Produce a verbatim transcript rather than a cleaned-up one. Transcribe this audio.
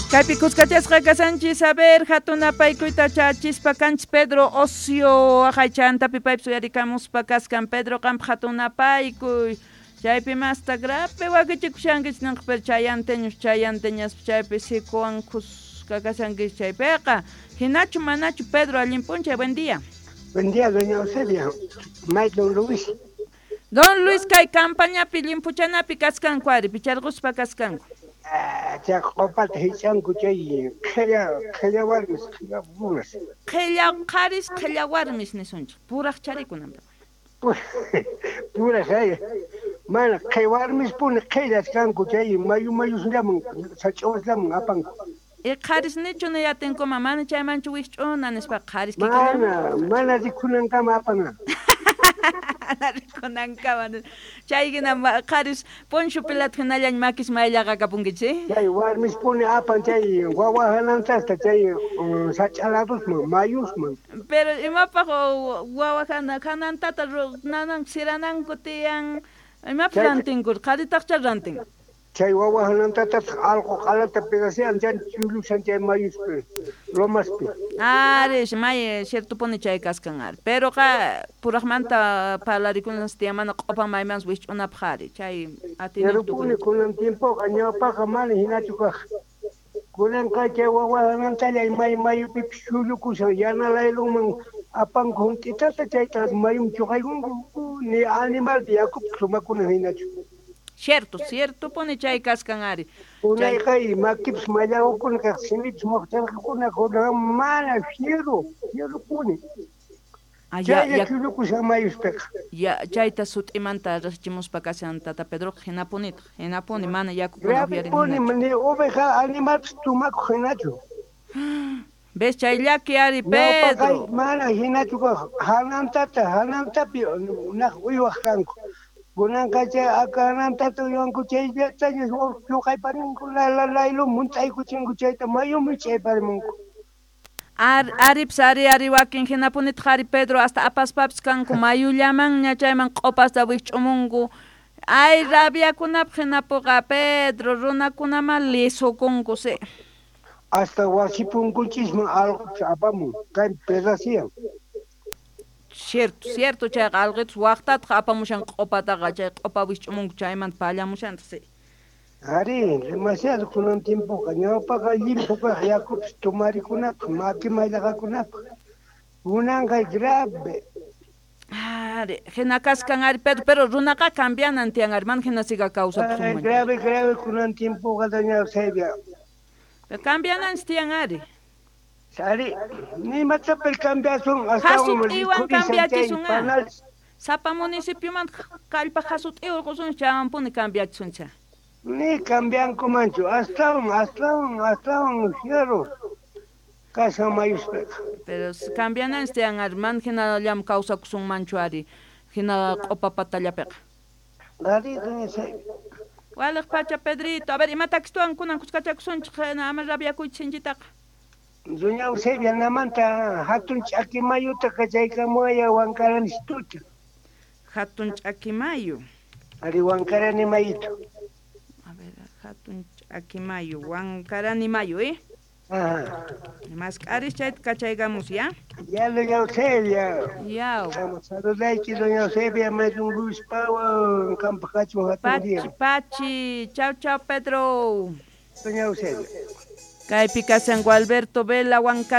Kaypi kuskachasqa kasanchis, a ver, hatun apaykuyta chachispa kanchis Pedro Ocio, aqaychantapi paypis uyarikamuspa kaskan. Pedro, qampa hatun apaykuy. Chaypi masta grape wakichikushankichis ninqa, pero chayanteños, chayanteñaspa chaypi sikuwan kuska kashankichis chaypiqa. Hinachu manachu, Pedro, allin p'unchay, buen día. Buen día, doña Eusebia. May don Luis. Don Luis kay campañapi limpuchanapi kaskanku ari, picharquspa kaskanku. Chay q'upata hich'anku chay qhilla qhilla warmis, qhilla runas. Qhilla qharis, qhilla warmis nisunchik, puraq charikunanpi. Puraq ay. Mana qhi warmis puni qhillas kanku chay mayu mayusllaman sach'awaslaman apanku. Y qharis nichu niyatinkuman mana chaymanchu wikch'una nispa qharis Mana, mana rikunankama apana. Mana rikunankama. Chay hina qharis poncho pilat hinallañ makis mayllaqa kapunkichis. Chay warmis puni apan chay wawa hanantasta chay sach'a ladusman mayusman. Pero imapaq wawa hana hanantata nanan sirananku tiyan imapaq rantinku qharitaqcha rantin. Chay wawa hanantatataq allqu q'alata pedacean chay chullushan chay mayuspi lomaspi. Ari, may ciertopuni chay kaskan ari. Pero qa puraqmanta parlarikunas tiyan mana q'upan maymanpas wikch'unapaq ari chay Pero puni kunan tiempoqa ñawpaqa mana hinachu kaq. Kunanqa chay wawa hanantalla may mayupipis chullukushan yana laylunman apanku hunt'itata chayta mayuman chuqaykunku ni animalpi yakupi sumakuna hinachu. Cierto, cierto puni chay kaskan ari. Unayqa makipis mallaqukuna kaq simipis muqcharqakuna kunan mana fierro, fierro puni. Chaylla chullukushan mayuspiqa. Ya chayta sut'imanta riqchimuspa kashan tata Pedroqa hinapunitaq, hinapuni mana yakukuna upyarina. Puni ni oveja animalpis tumakuq hinachu. ¿Ves chay llaki ari Pedro? Mana hinachu kaq hanantata, hanantapi naq uywaq kanku. Kunanqa chay hanantata uywanku chayllataña chuqayparinku laylum munt'aykuchinku chayta mayuman ch'ayparimunku. Ar, aripis ari ari wakin hinapunitaq ari Pedro hasta apaspapis kanku mayullamanña chayman q'upasta wikch'umunku. Ay rabiakunapaq hinapuqa Pedro runakunama lisukunku si. Hasta wasi punkunchisman allqupis apamun kay pedacian. Cierto, cierto, chayqa allqitus waqtataq apamushan q'upataqa chay q'upa wikch'umunku chaymanta pallamushantaq si. Ari, demasiado kunan tiempoqa ñawpaqa llimphu kaq yakupis tumarikunapaq maki mayllaqakunapaq kunanqa grave. Ari, hina kaskan ari Pedro, pero runaqa cambianan tiyan ari, mana hina siga kawsakusunman. Grave, grave kunan tiempoqa doña Eusebia. Pero cambiananchis tiyan ari. Ari, nimatapas cambiasun hasut'iwan cambiachisun a. Sapa municipioman kallpaq hasut'iwan qusun chaywanpuni cambiachisuncha. Ni cambiankumanchu, astawan, astawan, astawan fierro kashan mayuspiqa. Pero cambiananchis tiyan ari, mana hinallam kawsakusunmanchu ari, hina q'upa patallapiqa. Ari, doña Eusebia. Waliq pacha Pedrito, a ver, imatakis kunan kuskachakusunchik ama rabiakuychis sinchitaqa. Doña Eusebia namanta hatun ch'aki mayuta kachaykamuwaya Huancaranituta. Hatun ch'aki mayu. Ari Huancarani mayuta. A ver, hatun ch'aki mayu, Huancarani mayu, ¿eh? Ajá. Mask'aris chayta kachaykamus, ¿ya? Ya, doña Eusebia. Ya. Saludayki, doña Eusebia, mayun Luis Pawa, qanpaq kachun hatun día. Pachi, pachi. Chau, chau, Pedro. Doña Eusebia. Kaypi kashan Gualberto Vela, Huancarani.